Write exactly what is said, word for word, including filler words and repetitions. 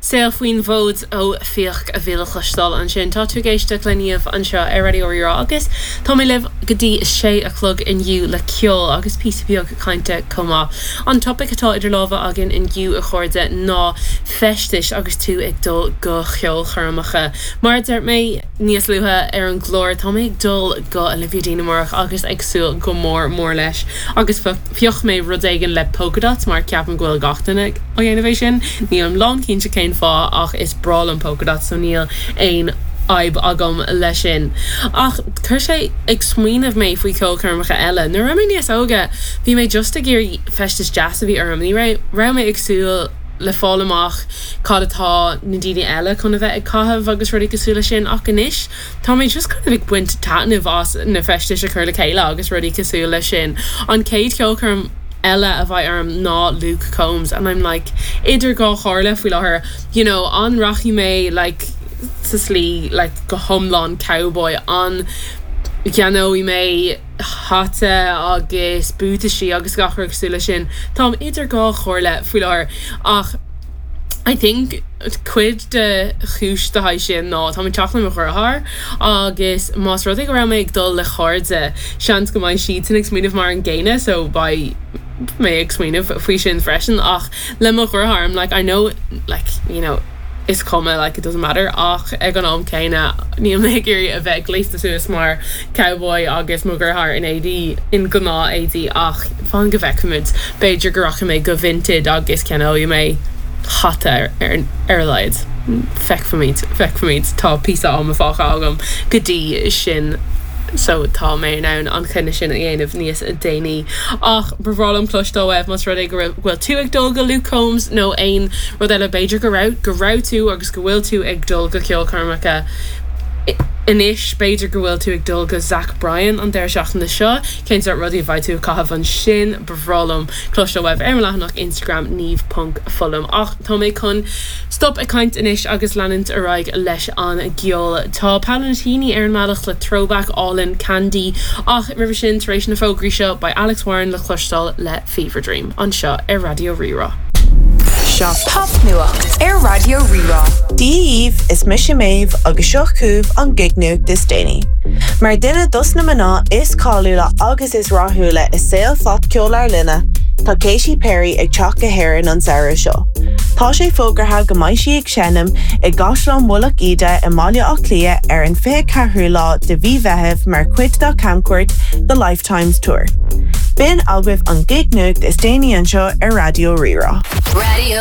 Saol faoin bhfód ó Fiach a bhí le cloisteáil ansin tá tú ag éisteacht le Niamh anseo ar Raidió Rí-Rá agus tá mé libh go dtí sé a chlog inniu le ceol agus píosa beag cainte chomh maith. An topaic atá idir lámha againn inniu a chairde ná feistis agus tú ag dul go ceolchoirmeacha. Mar deir mé níos luaithe ar an gclár tá mé ag dul go Olivia Dean amárach agus ag súil go mór mór leis agus phioc mé rud éigin le polka dots mar ceapaim go bhfuil gach duine á dhéanamh é sin, níl lán cinnte cén fáth ach is breá liom polka dots so níl aon fhadhb agam leis sin. Ach chuir sé ag smaoineamh mé faoi ceolchoirmeacha eile. Nuair a bhí mé níos óige bhí mé just ag iarraidh feistis deas a bhí orm, ní raibh mé ag súil le fáil amach cad atá na daoine eile chun a bheith ag caitheamh agus rudaí cosúil leis sin ach anois tá mé just kind of ag baint taitneamh as na feistis a chur le chéile agus rudaí cosúil leis sin. An chéad cheolchoirm eile a bheidh orm ná Luke Combs and I'm like idir dhá chomhairle faoi láthair you know an rachaidh mé like sa slí like go hiomlán cowboy an gceannóidh mé hata agus buataisí agus gach rud cosúil leis sin Táim idir dhá chomhairle faoi láthair ach I think cuid de chúis de haid sin ná tá teach le mo dheartháir agus más rud é go raibh mé ag dul le cairde seans go mbeidh siad sin ag smaoineamh mar an gcéanna so beidh mé ag smaoineamh faoi sin freisin ach le mo dheartháir like I know like you know is cuma like it doesn't matter ach ag an am céanna níl mé ag iarraidh a bheith gléasta suas mar cowboy agus mo dheartháir in éadaí in gnáth éadaí ach fan go bhfeicfimid b'fhéidir go rachaidh mé go Vinted agus ceannóidh mé hata ar ar a laghad. Feicfimid feicfimid tá píosa ama fágtha agam go dtí sin so tá mé in ann an cinneadh sin a dhéanamh níos déanaí ach ba bhreá liom cloisteáil uaibh más rud é go bhfuil tú ag dul go Luke Combs nó aon rud eile b'fhéidir go raibh go raibh tú agus go bhfuil tú ag dul go ceolchoirmeacha Anois b'fhéidir go bhfuil tú ag dul go Zach Bryan an deireadh seachtaine seo cén sórt rudaí a bheidh tú ag caitheamh ansin ba bhreá liom cloisteáil uaibh ar leathanach Instagram Niamh ponc Foghlaim ach tá mé chun stop ag caint anois agus leanúint ar aghaidh leis an gceol. Tá Paolo Nutini ar an mbealach le throwback álainn Candy ach roimhe sin tar éis na fógraí seo beidh Alex Warren le cloisteáil le Fever Dream anseo ar Raidió Rí-Rá. Seo Popnuacht ar Raidió Rí-Rá. Dia daoibh is mise Méabh agus seo chugaibh an gignuacht is déanaí. Mar duine dos na mná is cáiliúla agus is rathúla i saol phopcheol ár linne, tá Katy Perry ag teacht go hÉirinn an samhradh seo. Tá sé fógartha go mbeidh sí ag seinm i gCaisleán Mhullach Íde i mBaile Átha Cliath ar an fiche ceathrú lá de mhí Mheithimh mar chuid dá camchuairt The Lifetimes Tour. B'in agaibh an gignuacht is déanaí anseo ar Raidió Rí-Rá. Radio